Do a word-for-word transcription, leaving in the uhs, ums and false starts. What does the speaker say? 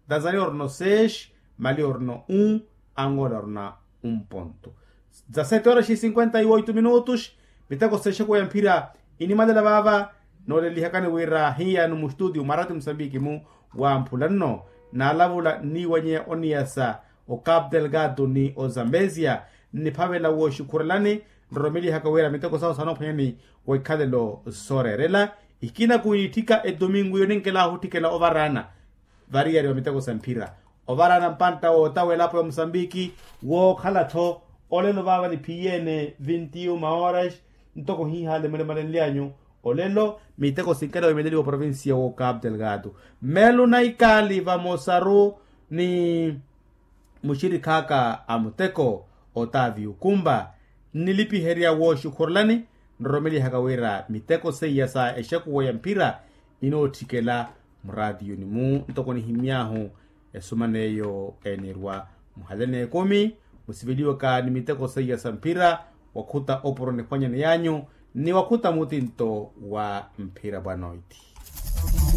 Tanzania orina o seis, mali orina o un, angola orina un ponto. Dezasete horas e cinquenta e oito minutos. Miteko sexekuwa ya mphira inimwalela vaava. Noolelihakani wira hiyano mustudio mwarati musambiki-mu, wamphula nno naalavula nniiwanyeya oniyasa o capu delgado ni o zambezia. Nniphavela wooxukhurelani nroromelihaka wira miteko sahu saanoophwanyani wa ikhalelo sooreerela. Ikina kuniitthika edomingu yo ninkelahu otthikela ovaraana variyari wa miteko sa mphira, ovaraana mpantta wootawa elapo ya musambiki. Wookhala-tho olelo vaava niphiyeene vinti uma horas. Ntoko hihaale mulemalenly'anyu olelo miteko sinkela wimeleliwa oprovincia wo capu delgado. Melu na ikaali vamosaru ni muxirikh'aka a muteko otaavi ukumba nnilipiherya wooxukhurelani. Nroromelihaka wira miteko seiya sa exekuwa ya mphira inootthikela muraatiyuni-mu ntoko nihimy'ahu. Esuma n'eyo enirwa muhale n'ekumi musiveliwaka ni miteko seiya sa mphira wakhuta opuro niphwanyani y'anyu ni wakhuta mutinto wa mphira bwanoiti.